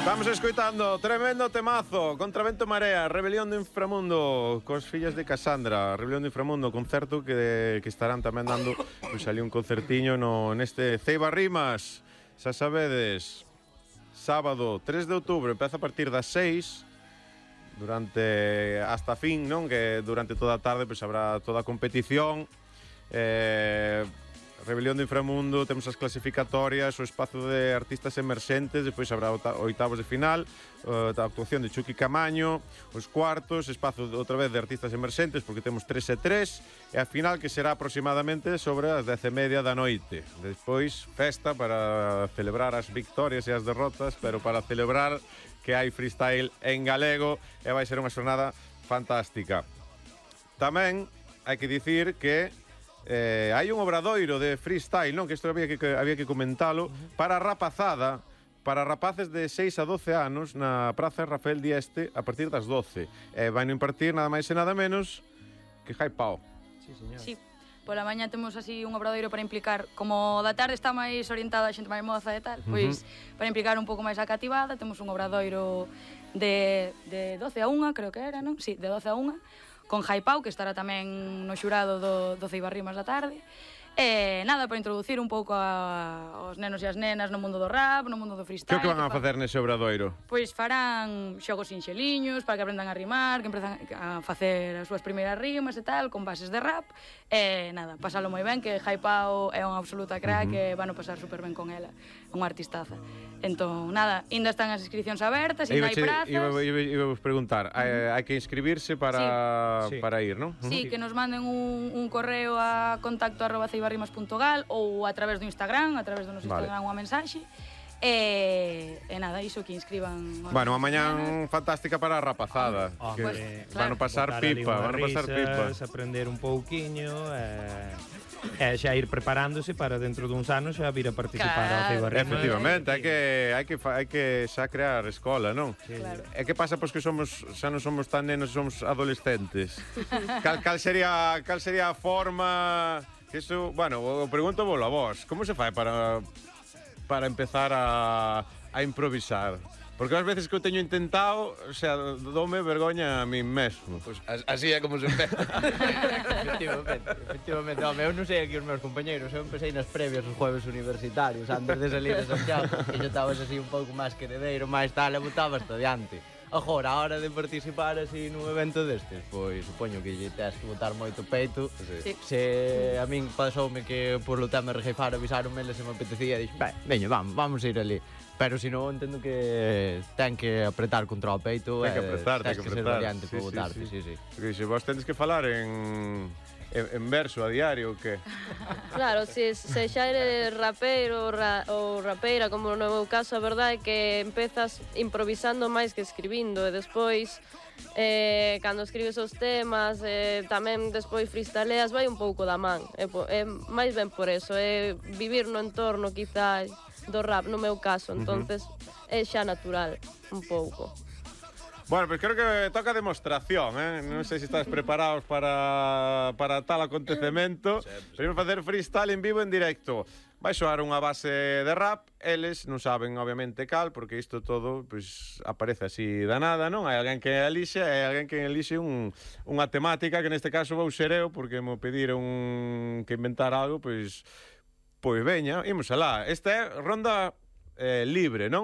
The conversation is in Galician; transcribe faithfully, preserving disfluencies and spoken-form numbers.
Vamos escoitando tremendo temazo, Contravento Marea, Rebelión do Inframundo, cos fillas de Casandra, Rebelión do Inframundo, concerto que, que estarán tamén dando, pois ali un concertiño no, neste Ceiba Rimas, xa sabedes, sábado tres de outubro, empeza a partir das seis, durante hasta fin, non? Que durante toda a tarde pois habrá toda a competición, eh... Rebelión do Inframundo, temos as clasificatorias, o espazo de artistas emerxentes, depois habrá oitavos de final, a actuación de Chucky Camaño, os cuartos, espazo outra vez de artistas emerxentes, porque temos tres e tres, e a final que será aproximadamente sobre as dez e media da noite. Despois, festa para celebrar as victorias e as derrotas, pero para celebrar que hai freestyle en galego, e vai ser unha xornada fantástica. Tamén hai que dicir que Eh, hai un obradoiro de freestyle, non? Que isto había que, había que comentalo, para a rapazada, para rapaces de seis a doce anos, na Praza Rafael Dieste, a partir das doce. Eh, vai non impartir nada máis e nada menos que Jai Pao. Sí, señor. Sí. Pola mañá temos así un obradoiro para implicar, como da tarde está máis orientada a xente máis moza e tal, pois uh-huh. para implicar un pouco máis a cativada, temos un obradoiro de, de doce a unha, creo que era, non? Sí, de doce a unha, con Jai Pau, que estará tamén no xurado do, do Ceiba Rimas da tarde. E nada, para introducir un pouco a, aos nenos e as nenas no mundo do rap, no mundo do freestyle. Que que van a facer nese obradoiro? Pois farán xogos sinxeliños para que aprendan a rimar, que empezan a facer as súas primeiras rimas e tal, con bases de rap. E nada, pasalo moi ben, que Jai Pau é unha absoluta crack, uh-huh. e van a pasar super ben con ela, unha artistaza. Entón, nada, ainda están as inscripcións abertas, ainda hai prazas. Iba, iba, iba vos preguntar, uh-huh. hai, hai que inscribirse para, sí. para ir, non? Uh-huh. Sí, que nos manden un, un correo a contacto arroba ceibarrimas punto gal ou a través do Instagram, a través do noso vale. Instagram unha mensaxe. E, e nada, iso que inscriban. Bueno, a mañán fantástica para a rapazada. Oh, que pues, claro, van a pasar pipa, van a pasar risas, pipa. Aprender un pouquiño, e, e xa ir preparándose para dentro duns anos xa vir a participar claro. ao Ceiba Rimas. Efectivamente, hai que hai que hai que xa crear escola, non? Sí. Claro. E que pasa pois que somos xa non somos tan nenos, somos adolescentes. cal, cal sería cal sería a forma que iso, bueno, o pregunto volo a vos, como se fai para para empezar a, a improvisar? Porque as veces que eu teño intentado, o sea, dome vergoña a mí mesmo. Pois pues así é como se empeza. Efectivamente, efectivamente. Home, eu non sei aquí os meus compañeiros, eu empecé nas previas os jueves universitarios, antes de salir de Santiago, que yo estabas así un pouco máis queredeiro, máis tal, e botabas hasta diante. Agora, a hora de participar así nun evento destes, pois supoño que lle tes que botar moito peito. Sí. Se a min pasoume que por lo tema rejeifar avisaronme, se me apetecía, dixo, ben, veño, vamos, vamos a ir ali. Pero se non, entendo que ten que apretar contra o peito. Ten que apretar, ten que que ser apretar. valiente Sí, para sí, botarte, sí. sí, sí. Porque se vos tendes que falar en en, en verso a diario, o que? Claro, se, se xa eres rapeiro ra, ou rapeira, como no meu caso, a verdade é que empezas improvisando máis que escribindo, e despois, eh, cando escribes os temas, eh, tamén despois freestyleas, vai un pouco da man. É, é máis ben por eso, é vivir no entorno, quizás, do rap, no meu caso, entonces uh-huh. é xa natural, un pouco. Bueno, pois pues creo que toca demostración, eh? Non sei se estás preparados para, para tal acontecemento. Primero facer freestyle en vivo, en directo. Vai soar unha base de rap, eles non saben, obviamente, cal, porque isto todo pues, aparece así da nada, non? Hai alguén que elixe, hai alguén que elixe un, unha temática, que neste caso vou ser eu, porque me pediron que inventar algo, pois, pois veña, imos alá. Esta é ronda eh, libre, non?